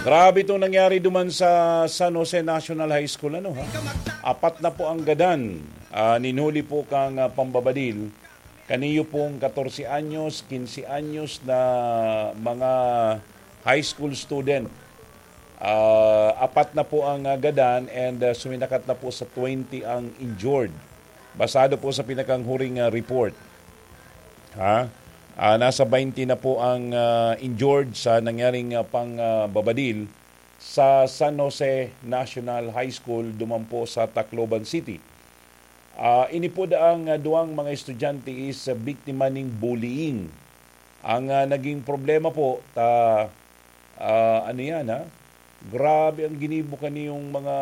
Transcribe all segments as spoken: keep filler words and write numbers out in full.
Grabe itong nangyari duman sa San Jose National High School, ano, ha? Apat na po ang gadan, ah, ninhuli po kang, ah, pambabadil. Kaniyo pong katorse anyos, kinse anyos na mga high school student. Ah, apat na po ang, ah, gadan and, ah, suminakat na po sa twenty ang injured. Basado po sa pinakanghuring, ah, report. Ha? Ah, nasa twenty na po ang, ah, injured sa nangyaring, ah, pang, ah, babadil sa San Jose National High School duman po sa Tacloban City. Ah, ini po daang, ah, duwang mga estudyante is, ah, biktima ning bullying. Ang, ah, naging problema po, ta, ah, ano yan, ha? Grabe ang ginibo kaniyong mga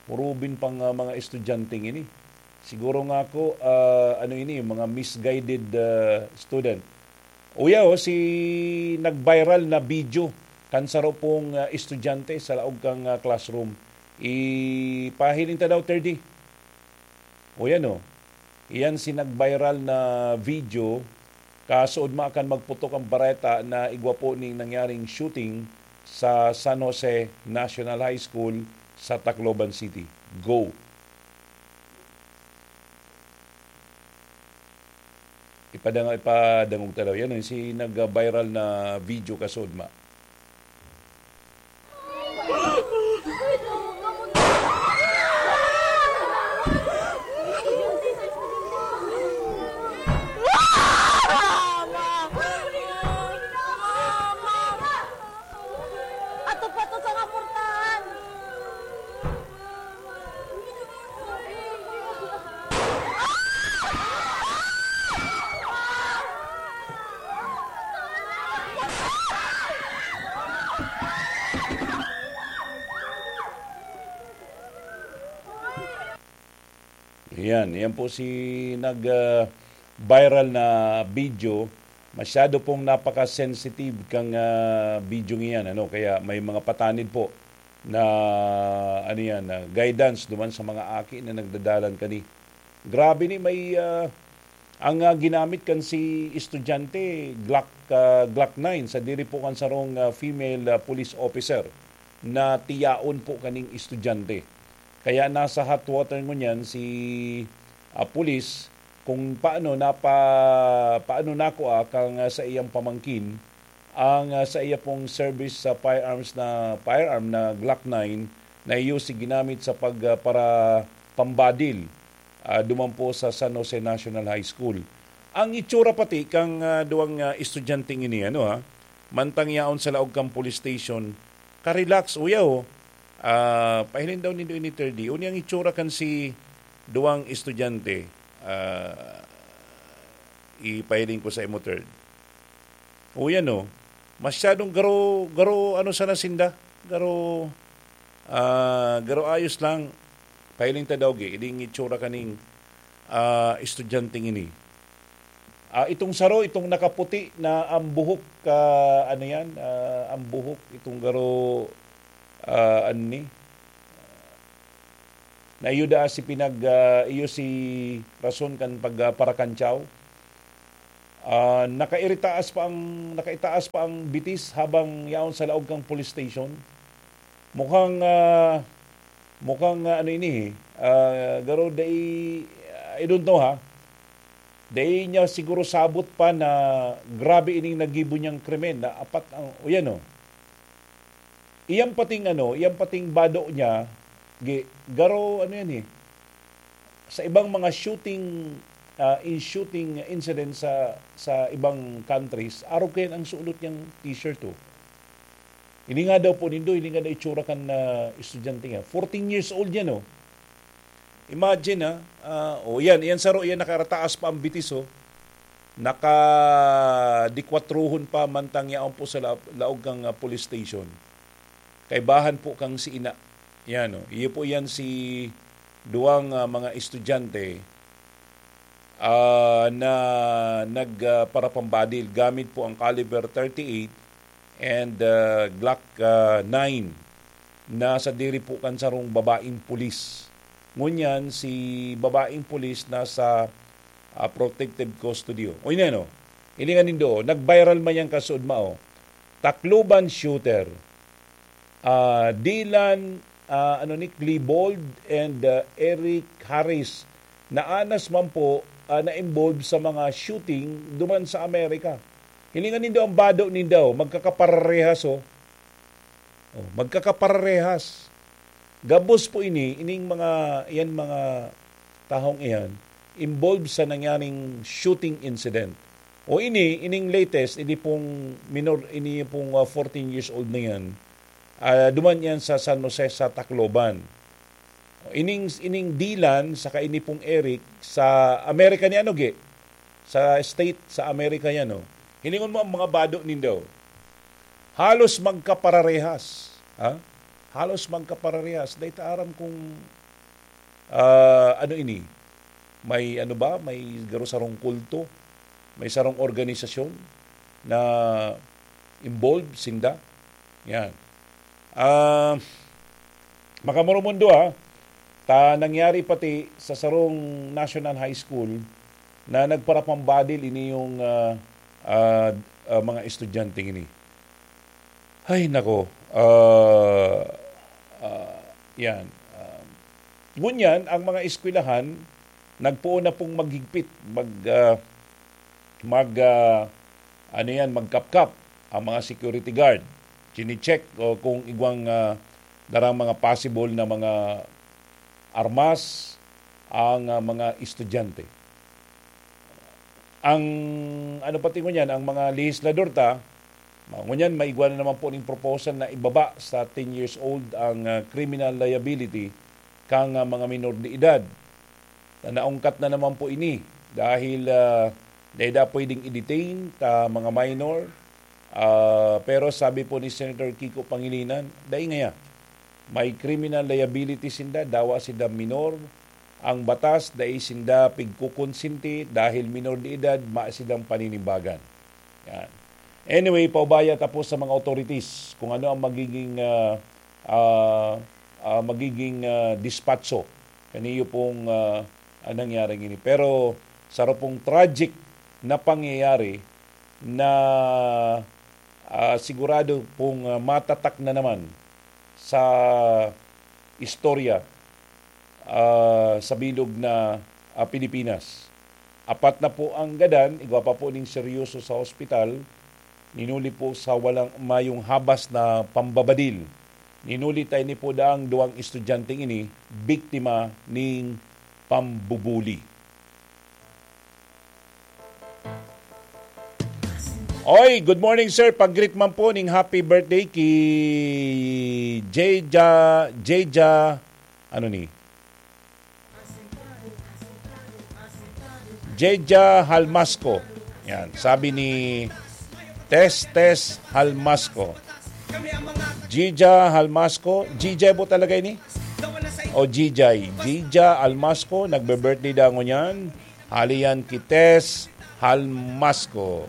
hurubin pang, ah, mga estudyante ini. Siguro nga ako, ah, ano ini, mga misguided, ah, student. Uya, oh, si nag-viral na video kan saro pong, ah, estudyante sa laog kang, ah, classroom. Ipahiling ta daw, thirty. O yan, oh. Iyan si nag-viral na video, kasuodma kan magputok ang bareta na igwa po ning nangyaring shooting sa San Jose National High School sa Tacloban City. Go! Ipadanga-, ipadangog ta daw. Yan, oh, si nag-viral na video kasuodma. Ato pa to sa kapurtahan! Ayan, yan po si nag, ah, viral na video. Masyado pong napaka-sensitive kang, ah, video ngiyan, ano? Kaya may mga patanid po na, ano yan, na guidance duman sa mga aki na nagdadalan kani. Grabe ni, may, ah, ang, ah, ginamit kan si estudyante, Glock, ah, Glock nine, sa diri po kan sarong, ah, female, ah, police officer na tiyaon po kaning estudyante. Kaya nasa hot water ngunyan si, ah, pulis kung paano napa-, paano nakua kang, ah, sa iyang pamangkin ang, ah, sa iya pong service sa firearms na, firearm na Glock nine na iyo si ginamit sa pag, ah, para pambadil, ah, duman po sa San Jose National High School. Ang itsura pati kang, ah, duwang, ah, estudyanteng ini, ano, ha, mantang yaon sa laog kang police station, ka-relax, uya, oh. Ah, pahiling daw nindo ini, thirty. Uni ang itsura kan si duwang estudyante, ah, ipahiling ko sa imo, third. O yan, oh. Masyadong garo, garo, ano sana sinda? Garo, ah, garo ayos lang. Pahiling ta daw, gi, ining itsura kaning, ah, estudyanteng ini. Ah, itong saro, itong nakaputi na ang buhok, ah, ano yan? Ah, ang buhok, itong garo, ah, ano ni? Na iyo da si pinag, ah, iyo si rason kan pag, ah, parakantyaw. Ah, nakairitaas pa ang, nakaitaas pa ang bitis habang yaon sa laog kang police station. Mukhang, ah, mukhang, ah, ano ini, eh, ah, garo dai, I don't know, ha. Dai niya siguro sabot pa na grabe ining nagibo niyang krimen na apat ang, o yan, oh. Iyang pating ano, iyang pating bado niya, gi-, garo, ano yan, eh. Sa ibang mga shooting, ah, in shooting incident sa, sa ibang countries, arog kayan ang sulot niyang t-shirt, oh. Ini nga daw po nindo, ini nga daw itsura kan, ah, estudyante nga. Fourteen years old yan, oh. Imagine, ah, ah, oh, yan, yan saro, yan nakarataas pa ang bitis, oh. Nakadikwatruhon pa mantang yaon po sa la-, laog kang, ah, police station. Kaibahan po kang si ina. Yan, oh. Iyo po yan si duwang, ah, mga estudyante, ah, na nag, ah, parapambadil gamit po ang caliber thirty-eight and, ah, Glock, ah, nine na sa diri po kan sarong babaeng pulis. Ngunyan, si babaeng pulis nasa, ah, protective custody. O, ini, ano? Ilingan nindo, nag-viral man yang kasuodma, oh. Tacloban shooter. ah, Dylan, ah, ano ni, Klebold and, ah, Eric Harris, na anas man po, ah, na-involve sa mga shooting duman sa Amerika. Hilingan nindo ang bado nindo, magkakaparehas, oh. Oh, magkakaparehas. Gabos po ini, ining mga, yan mga tahong iyan, involved sa nangyaring shooting incident. O ini, ining latest, ini pong minor, ini pong, ah, fourteen years old na yan, ah, duman yan sa San Jose, sa Tacloban. Ining, ining Dylan, saka ini pong Eric, sa Amerika ni ano, gi? Sa state, sa Amerika yan, no? Hilingon mo ang mga bado nindo. Halos magkapararehas. Ha? Halos magkapararehas. Dahil ta aram kung, ah, ano ini? May ano ba? May garo sarong kulto? May sarong organisasyon na involved sinda? Yan. Ah, makamoromundo, ha? Ta nangyari pati sa sarong National High School na nagparapambadil ini yung, ah, ah, ah, mga estudyante ini. Ay, nako. Ah, ah, yan. Ah, ngunyan, ang mga eskwelahan, nagpoon na pong maghigpit, mag, ah, mag, ah, ano yan, magkapkap ang mga security guard. Chine-check o kung igwang, ah, darang mga possible na mga armas ang, ah, mga estudyante. Ang ano pati ngunyan, ang mga lehislador ta, ma-, ngunyan maigwa na naman po ning proposal na ibaba sa ten years old ang, ah, criminal liability kan, ah, mga minor de edad. Na naungkat na naman po ini dahil, ah, dai da pwedeng i-detain ta mga minor. Ah, pero sabi po ni Senator Kiko Pangilinan, dai ngaya. May criminal liability sinda, dawa sinda minor. Ang batas, dai sinda pigkukonsente dahil minor de edad, ma sindang paninimbagan. Yan. Anyway, paubaya tapos sa mga authorities kung ano ang magiging, ah, ah, ah, magiging, ah, dispatso kaniyo pong, ah, ah, nangyaring ini. Pero saro pong tragic na pangyayari na, ah, sigurado pong, ah, matatak na naman sa istorya, ah, sa bilog na, ah, Pilipinas. Apat na po ang gadan, igwa pa po ning seryoso sa hospital, ninuli po sa walang mayong habas na pambabadil. Ninuli ta ini po daang duwang estudyanteng ini, biktima ning pambubuli. Oy, good morning, sir. Pag-greet man po ning happy birthday ki Jeja, Jeja, ano ni? Jeja Halmasco. Yan, sabi ni Tes Tes Halmasco. Jeja Halmasco. Jeja po talaga ini? O Jijay? Jeja Halmasco, nagbe-birthday daw ngunyan. Hali yan ki Tes Halmasco.